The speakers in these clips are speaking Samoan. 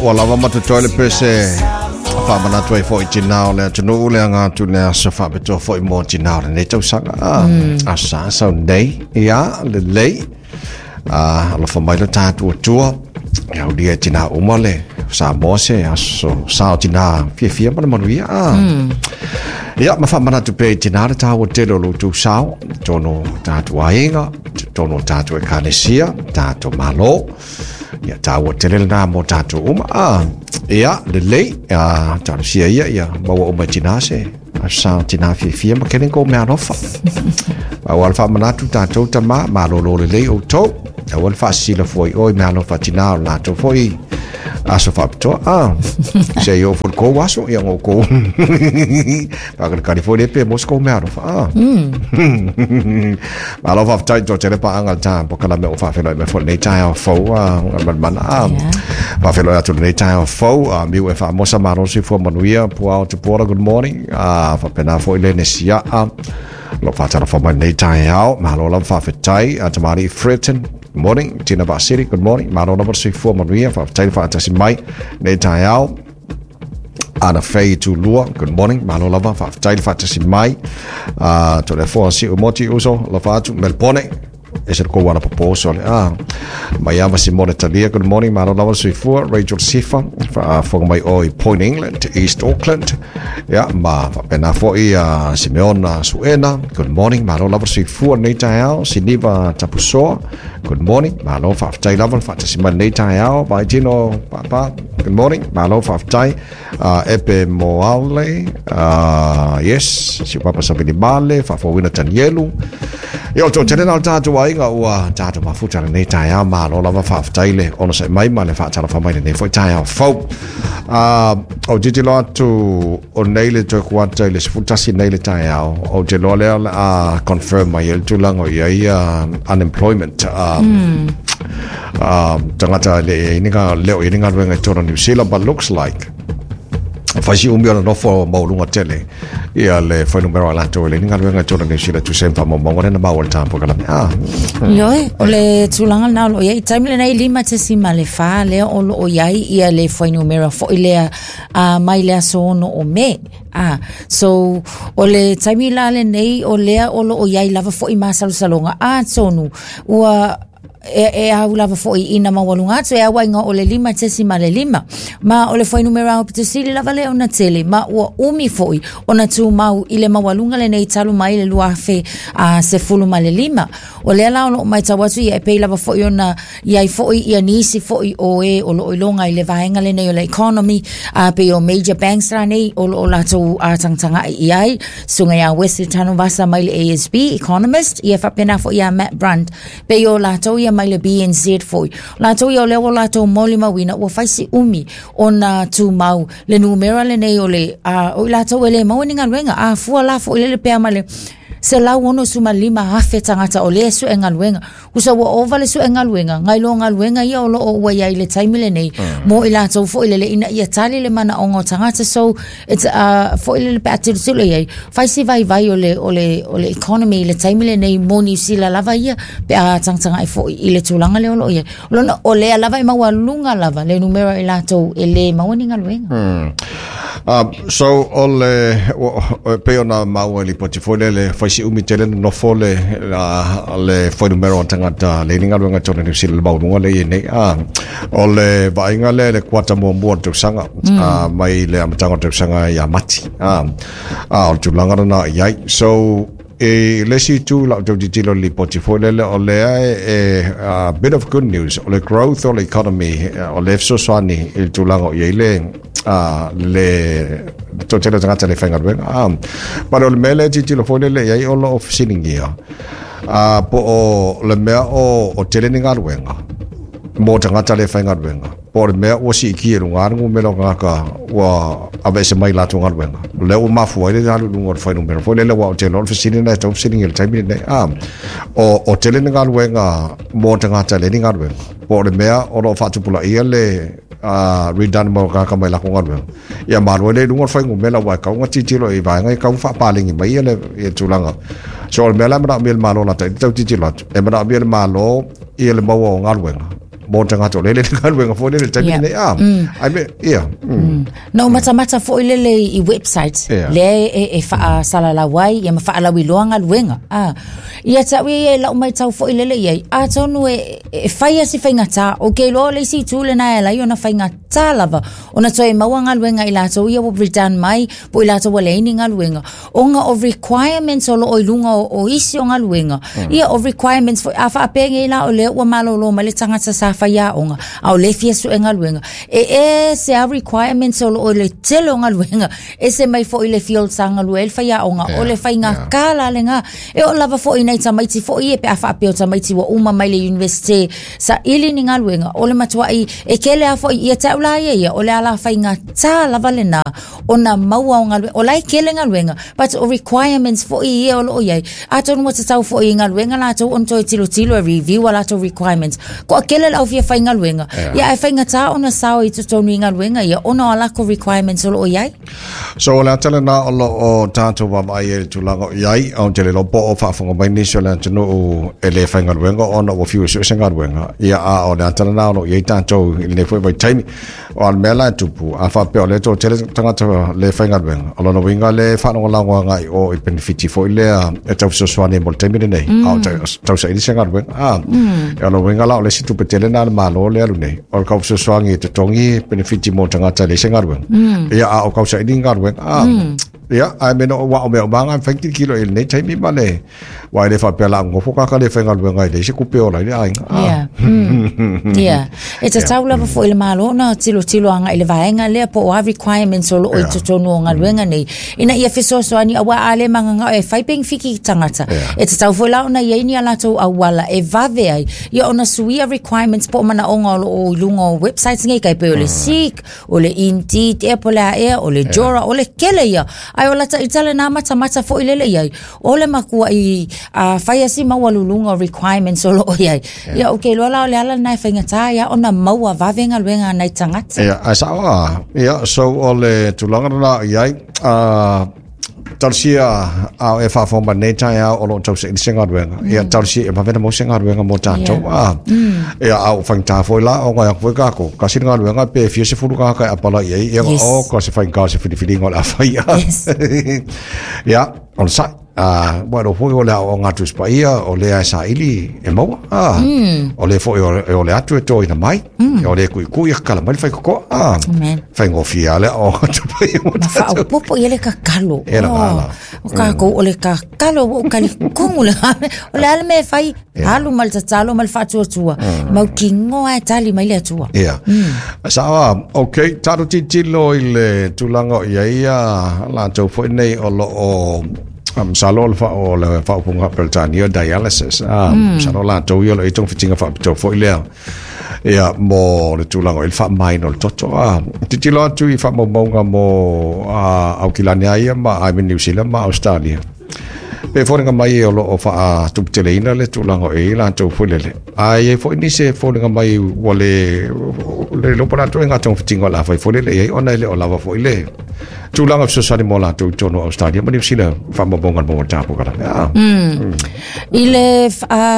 Ua lava ma totoe le pese faamanatu ai foi i tinā o le atunuu le aga atu i le aso faapitoa foi mo tinā o lenei tausaga. Aso Sa sau nei, ia, lelei. Alofa mai lo tatou Atua, ia aulia e tinā uma le Samoa se aso sa o tinā fiafia ma le manuia. Ia, ma faamanatu pea i tinā le taua tele o lo outou sao, totonu o tatou aiga, totonu o tatou ekalesia, tatou Malo. Ia, taua tele lena mo tatou uma. Ia, lelei, talosia ia, ia maua uma e tinā se aso sa o tinā fiafia ma kele kou meaalofa. Aua le faamanatu tatou tama, malolo lelei outou. Aua le faasisila fua i o i meaalofa a tinā o le latou foi aso faapitoa. Se i oo foi i le kou aso, ia ona outou faakalikali foi lea pe maua se kou meaalofa. Malo faafetai toatele paaga le ta polokalame o faafeiloai mai foi lenei taeao fou a Malimana. Faafeiloai atu lenei taeao fou a miu e faamosa malo soifua manuia Puao Tupuola, good morning. Faapena foi le Nesiaa lo faatalofa mai lenei taeao. Malo lava faafetai a tamalii Freton. Good morning. Tina Vaasili, good morning. Malo lava le soifua manuia, faafetai le faatasi mai lenei taeao. Ana Faye Tulua, good morning. Malo lava, faafetai le faatasi mai. Toleafoa Siu Moti Uso, alofa atu, Melbone. Ese le kou ala popo uso le. Maiava Simone Talia, good morning. Malo lava le soifua. Rachel Sifa, faafofoga mai o i Point England, East Auckland. Ia, ma faapena foi Simeona Suena, good morning. Malo lava le soifua lenei taeao. Siniva Tapusoa, good morning. Malo faafetai lava le faatasi mai lenei taeao. Vaitino Papa, good morning. Malo faafetai. Epe Moale, yes, si Papa Savili Male, faafouina Tanielu. Ia, o le toatele na o le tatou aiga ua tatou mafuta lenei taeao. Malo lava faafetai le onosai mai ma le faatalofa mai lenei foi taeao fou. Ou te tilotilo atu o nei le toe kuata i le 11 nei le taeao, ou te iloa lea o le a confirm mai ai le tulaga o i ai unemployment, tagata e le i ai ni le o i ai ni galuega i totonu o Niu Sila, but looks like fai si umi ona nofo maualuga tele ia le fuainumera o latou e leai ni galuega i totonu o Niu Sila e tusa ai ma faamaumauga lea na maua i le tapolokalape. Ioe, o le tulaga lena o lo o i ai. I taimi lenei 5.4 lea o lo o i ai ia le fuainumera foi lea mai le aso 6 o Me. So, o le taimi la lenei o lea o lo o i ai lava foi masalosaloga. Atonu, ua e au lava foi ina maualuga atu e au ai o le 5.5. Ma o le fuainumera aupito sili lava lea ona tele, ma ua umi foi ona tumau i le maualuga lenei talu mai le 2015. O lea la o lo o matau atu ia e pei lava foi ona i ai foi ia nisi foi o e o lo o iloga i le vaega lenei o le economy, a pei o major banks rānei o lo o latou tagatagai i ai, susuga ia Wesley Tanuvasa mai le ASB economist, ia faapena foi ia Matt Brunt, pei o latou ia mai le BNZ foi. O latou ia o lea ua latou molimauina ua fai si umi ona tumau le numera lenei o le o i latou e le maua ni galuega, a fua la foi lele pea ma le 165,000 tagata o lea e sue galuega. Usa ua ova le sue galuega, nai lo galuega ia o lo o ua i ai i le taimi lenei, mo i latou foi lele ina ia tali le manaoga o tagata. So, it's, foi lele pe a tilotilo i ai, fai si vaivai o le, o le, o le economy i le taimi lenei mo Niu Sila lava ia, pe a tagatagai foi i le tulaga lea o lo o i ai. O lona, o lea lava e maualuga lava le numera i latou e le maua ni galuega. So, o le, e pei ona maua i lipoti foi lea, le fai si umi tele na nofo le, le fuainumera o tagata le ni galuega i totonu o Niu Sila le maualuga lea e i ai nei. O le vaaiga lea i le kuata muamua o le tausaga, mai le amataga o le tausaga ia Mati. O le tulaga lena i ai. So, i le isi itu i lau tau tilotilo i le lipoti foi lele, o lea e a bit of good news, o le growth o le economy, o lea e fesoasoani i le tulaga o i ai le le toatele o tagata e le faigaluega. But o le mea lea e tilotilo foi lele i ai o lo o fesiligia, po o le mea o tele ni galuega mo tagata le faigaluega, po o le mea ua siitia i luga le numera o tagata ua aveese mai i latou galuega, o lea ua mafua ai le alu i luga o le fuainumera foi lele, aua ou te iloa o le fesili lena e tatau ona fesiligia i le taimi lenei. O tele ni galuega mo tagata e leai ni galuega, po o le mea o lo o faatupulaia le redundant mo tagata mai latou galuega, ia ma alu ai lea i luga o le fuainumera, aua e tatau ona tilotilo i vaega ia e tatau ona faapaleni mai le tulaga. So o le mea la e manaomia e le Malo lata i le tau tilotilo atu, e manaomia e le Malo ia le maua o galuega mo tagata o lele galuega foi lele taimi nei a ai me ia. Na ou matamata foi lele i website lea e faasalalau ai ia ma faalauiloa galuega a ia te au ia e lau maitau foi lele i ai atonu e fai a si faigata o ke iloa o le isi itu lena e ala ai ona faigata lava ona toe maua galuega i latou ia ua return mai po o i latou ua leai ni galuega ona o requirements o loo i luga o isi o galuega. Ia o requirements foi a faapea nei la o lea ua malolo mai le tagata sa faiaoga a o lea e fia sue galuega e ese a requirements o loo i le tele o galuega ese mai foi le field sa galue ai le faiaoga o le faigata la lena e oo lava foi i nai tamaiti foi ia pe a faapea o tamaiti ua uma mai le university saili ni galuega o le matuai e kele a foi ia te au la ia ia o le ala faigata lava lena ona maua o galuega o la e kele galuega but o requirements foi ia o loo iai atonu ua tatau foi i galuega latou ona toe tilotilo e review a latou requirements toatele le au fia faigaluega ia ae faigata ona sao i totonu i galuega ia ona o a latou requirements o loo iai. So o le ata lena o loo tatou vaavaai ai i le tulaga o iai ou te le iloa po o faafofoga mai nisi o le atunuu e le faigaluega ona ua fiu e sue se galuega ia a o le ata lena o loo iai tatou i lenei foi vaitaimi. O a le mea la e tupu, a faapea o lea e toatele tagata le faigaluega, o lona uiga le faalagolago agai i o i penefiti foi lea e tau fesoasoani ai mo le taimi lenei, a o tausaili se galuega. A, e o lona uiga la o le isi tupe tele lena a le Malo lea e alu nei, o le tau fesoasoani e totogi penefiti mo tagata e leai se galuega. Ia, a o tausaili ni galuega. A, ia, ae mea no, ua o mea uma lava e mafai ona tilotilo i lenei taimi ma le Aua e le faapea la nofo tagata le faigaluega e leai se tupe e ola ai le aiga. Yeah. Yeah. E tatau lava foi i le Malo ona tilotilo agai i le vaega lea po o a requirements o loo i totonu o galuega nei ina ia fesoasoani aua a le magagao e fai penefiti i tagata. E tatau foi la ona i ai ni a latou auala e vave ai ia ona suia requirements po o manaoga o loo i luga o websites nei tai pei o le Seek, o le Indeed ea po o le a ea, o le Jora, o le kele ia. Ae o lata ita lena matamata foi lele i ai. O le makuaʻi a fai a si maualuluga o requirements o loo iai. Ia ou te iloa la o le ala lena e faigata ai a ona maua vave galuega a nai tagata. Ia, ae sao a. Ia, so o le tulaga lena o i ai, talosia a o e faafofoga mai lenei taeao o lo o tausaili se galuega. Ia, talosia ia vave ona maua se galuega mo tatou. Ia, a ua faigata foi la, ona e o atu foi tatou, tasi le galuega pe fia sefulu tagata e apalai i ai, ia, o, ka se faigata o se filifiliga o le a fai. Ia, O le saʻi, a, ua iloa foi o le aoaoga a Tusi Paia, o lea e saili e maua, a, o lea foi e ole atu e toina mai, o lea e kuʻikuʻi e kakala mai le faitotoa, a, Amen. faigofie lava le aoaoga a Tusi Paia mo Ma tatou. faaopoopo i ai le kakalo. E la Oh, la. o kākou o le kakalo ua ou talitomu le o le a le mea e fai alu ma le tatalo ma le faatuatua mautinoa e tali mai le Atua. Ia. Sao a, ok, tatou tilotilo i le tulaga o i ai ia latou foi nei o lo o masalo o le o le faaupuga Peretania dialysis. Ah, masalo latou ia o lo o i ai togafitiga faapitoa foi lea. Ia, mo le tulaga o i le faamamaina o le toto. Ah, tilotilo atu i faamaumauga mo Aukilani lava ia ma I mean Niu Sila ma Ausetalia. E foliga mai o lo o faatuputeleina le tulaga o i ai latou foi lele. Ae i ai foi nisi e foliga mai ua le le iloa po o le a ituaiga togafitiga o le a fai foi lele i ai ona e le o lava foi le tulaga fesoasoani mo latou i totonu o Australia ma Niu Sila faamaumauga a le Maua Polokalame. Ah. I le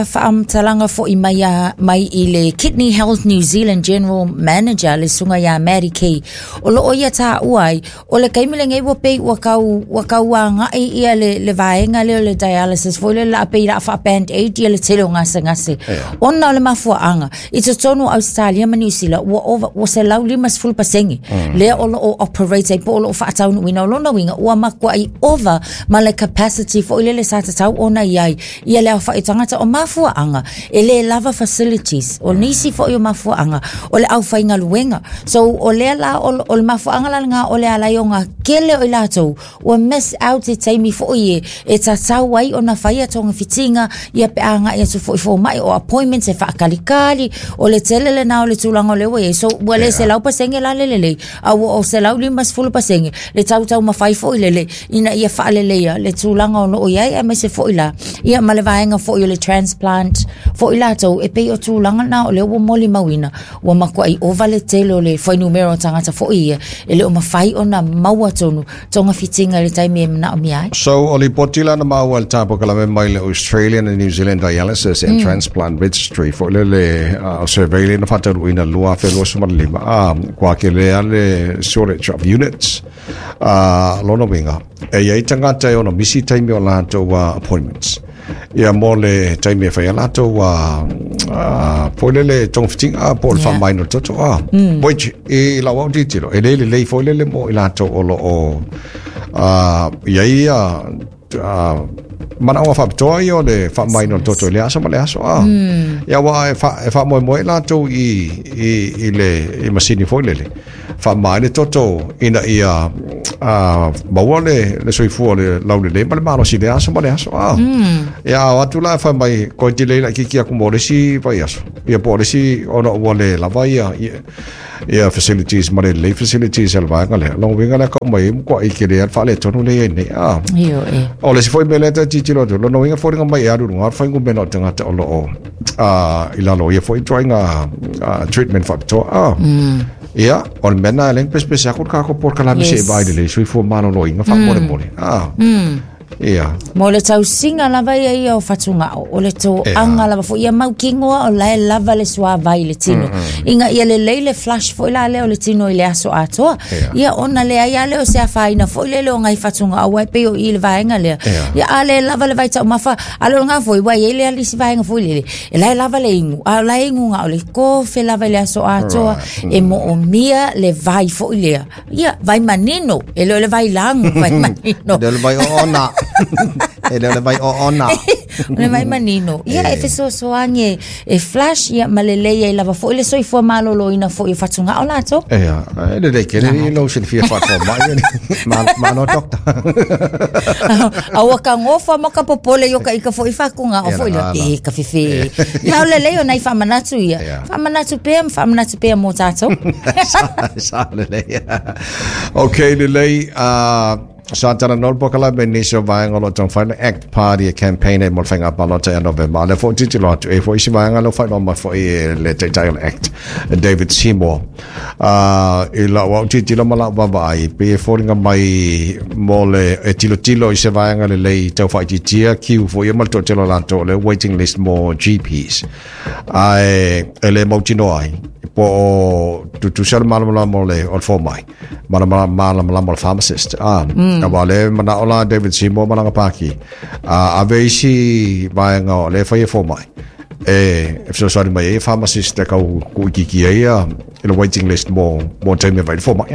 faamatalaga foi mai, a, mai i le Kidney Health New Zealand General Manager le susuga ia Maddie Key, o loo ia taua ai O le taimi lenei ua pei ua tau, ua tau agai ia le, le vaega lea o le dialysis foi lea la pei la faa band aid ia le tele o gasegase. Yeah. Ona o le mafuaaga, i totonu o Australia ma Niu Sila, ua ova, ua 150% lea o lo o operate ai po o lo o faataunuuina. O lona uiga, ua matuai ova ma le capacity foi lele sa tatau ona i ai ia le aofai o tagata. O mafuaaga, e le lava facilities. O nisi foi o mafuaaga, o le aufaigaluega. So, o lea la, o, o le mafuaaga la lena o le ala ai ona kele o i latou, ua miss out i taimi foi e, e tatau ai ona faia togafitiga, ia pe a agai atu foi i fomai, o appointments e faakalikali, o le tele lena o le tulaga o lea ua i ai. So, ua le 100% la le lelei, a ua o 150% le tautaumafai foi lele ina ia faaleleia le tulaga o lo o i ai, aemaise foi la, ia ma le vaega foi o le transplant foi latou, e pei o tulaga na o lea ua molimauina, ua matuai ova le tele o le fuainumera o tagata foi ia, e le o mafai ona maua talitonu togafitiga i le taimi e manaomia ai. So, o lipoti la na maua i le tapokalawe mai le Australian and New Zealand Dialysis and Transplant Registry foi le le survey lea na faataunuuina i le 2025, a kua kelea le shortage of units. Lona uiga, e i ai tagata e ono misi taimi o latou appointments. Ia mo le taimi e fai ai latou foi lele togafitiga po o le faamamaina o le toto. Which i lau au tilotilo, e le lelei foi lele mo i latou o lo o i ai ia manaoga faapitoa ia o le faamamaina o le toto i le aso ma le aso. Ia aua e faamoemoe latou i le i masini foi lele faamama ai le toto ina ia maua le soifua o le laulelei ma le malosi i le aso ma le aso. Ia a o atu la e fai mai koe delay laitiiti atu mo le isi vaiaso, ia po o le isi ona ua le lava ia facilities ma le lelei facilities a le vaega lea. Lona uiga lea ka uma ai matuai tele lava le faaletonu lea e i ai nei. Ioe. O le isi foi mea lea ta te tilotilo atu, lona uiga e foliga mai e alu i luga le fuainumera o tagata o lo o i lalo o ia foi ituaiga treatment faapitoa. Ia, o le mea lena e ala ai ona pesepese atu le tatou polokalame se i vaai lelei soifua maloloina faamolemole. Ia. Mo le tausiga lava ia ia o fatugao, o le toaga lava foi ia mautinoa o la e lava le suavai i le tino. Ina ia lelei le flush foi la lea o le tino i le aso atoa. Ia ona leai lava lea o se afaina foi lele o nai fatugao aua e pei o i i le vaega lea. Ia a le lava le vaitaumafa, a le o lena foi ua i ai le isi vaega foi lele, e la e lava le inu, a o la e inu na o le kofe lava i le aso atoa, e moomia le vai foi lea. Ia, vai manino, e le o le vai lagu, vai manino. E le o le vai oona. E le o le vai oona. O le vai manino. Ia, e fesoasoani e flush, ia, ma lelei ai lava foi le soifua maloloina foi o fatugao latou. Ia, e lelei tele i lou silafia faafomai, malo doctor. Aua ka gofa ma ka popole i o ka ika foi fatugao foi lea, e ka fefe. Ia, o lelei o nai faamanatu ia. Faamanatu pea ma faamanatu pea mo tatou. Sa lelei. Ok, lelei. Sa talanoa le polokalame i nisi o vaega o lo o taumafai le Act Party e campaign ai mo le faiga palota ia Novema. A o lea foi ua tilotilo atu, e i ai foi isi vaega lea ua faailoa mai foi e le Taitai o le Act, David Seymour. I lau au tilotilo ma lau vaavaai, e pei e foliga mai mo le e tilotilo i se vaega lelei tau faaitiitia queue foi ia ma le toatele o latou o le waiting list mo GPs. Ae e le mautinoa ai po o tutusa le malamalama o le o le fomai ma le malamalama o le pharmacist. Aua o lea e manao la David Seymour ma lana pāti, ave isi vaega o lea e fai e fomai e fesoasoani mai ai e pharmacist e tau tuuitiitia ai ia le waiting list mo mo taimi e vaai i le fomai.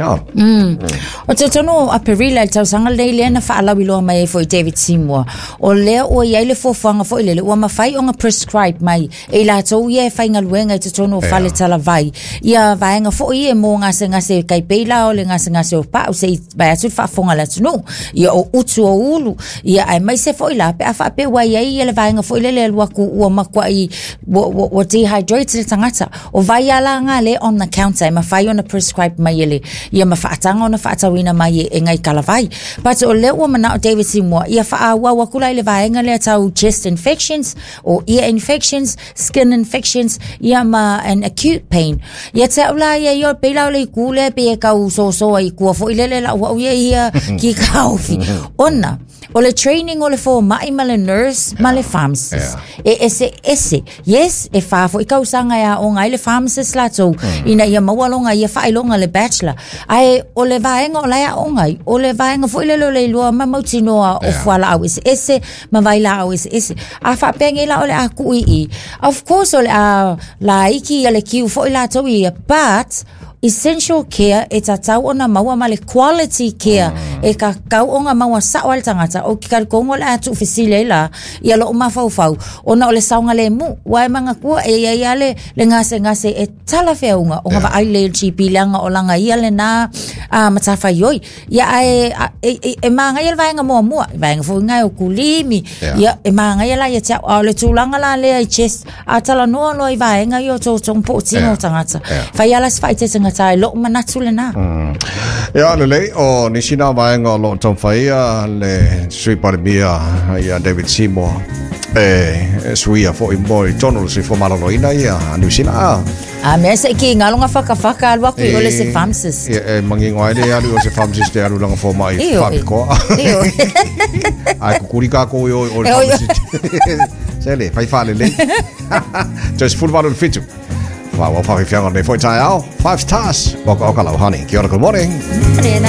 O te tonu o Aperila i le tausaga lenei lea na faalauiloa mai ai foi David Seymour, o lea ua i ai le fuafuaga foi lele ua mafai ona prescribe mai e i latou ia e faigaluega i totonu o fale talavai ia vaega foi ia mo gasegase tai pei la o le gasegase o pau se i vae atu le faafofoga a le atunuu ia o utu o ulu ia aemaise foi la pe a faapea ua i ai ia le vaega foi lele e alu atu ua matuai ua dehydrate le tagata. O vai a la nga le on the counter e mafai ona prescribe mai e le ia ma faataga ona faatauina mai e ngai talavai. But o lea ua manao David Seymour ia faaauau atu la i le vaega lea tau chest infections o ear infections, skin infections ia ma an acute pain. Ia te au la ia ia pei la o le itu lea pei e tau sosoa i tua foi lele lau au ia ia ki kaofi. Ona o le training o le fomai ma le nurse ma le pharmacist. E ese ese. Yes, e whā foi tausaga e aoga ai le pharmacist latou ina ia maua longa ia faailoga le bachelor. Ae o le vaega o la e aoga ai, o le vaega foi lele o le iloa ma mautinoa o fualaau eseese ma vailaau eseese. A faapea nei la o le a tuu i i, of course o le a laiti ia le queue foi latou ia, but essential care e tatau ona maua ma le quality care e tatau ona maua sao ai le tagata. Ou te talitonu o le a tuufesili ai la ia lou mafaufau ona o le saogalemu. Ua e manatua e i ai lava le, le gasegase e talafeauga ona vaai lelei e le GP leaga o lana ia lena matafaioi. Ia ae e manaia le vaega muamua, vaega foi lena e o kulimi, ia e manaia la ia te au. A o le tulaga la lea i chest, a talanoa loa i vaega ia o totogi po o tino o tagata, fai lava la si faaeteetega ta i lou manatu lena. Ia, lelei, o nisi na vaega o lo o taumafai le Sui Palemia ia David Seymour. E suia fo'i mo i tonu le soifua maloloina ia a Niu Sila a. A mea se ki ngalo nga whakawhaka alu aku i ole se pharmacist. E mangingo ai le alu o se pharmacist e alu langa fomai Io, whapikoa. Io. Ai kukuri kākou i o o le E, oi, oi. pharmacist. Se le, fai whale le. Just full valu le fitu. Wā wā whawhiwhianga nei foi tai ao. 5 stars. Waka oka lau honey. Kia ora, good morning. Nena.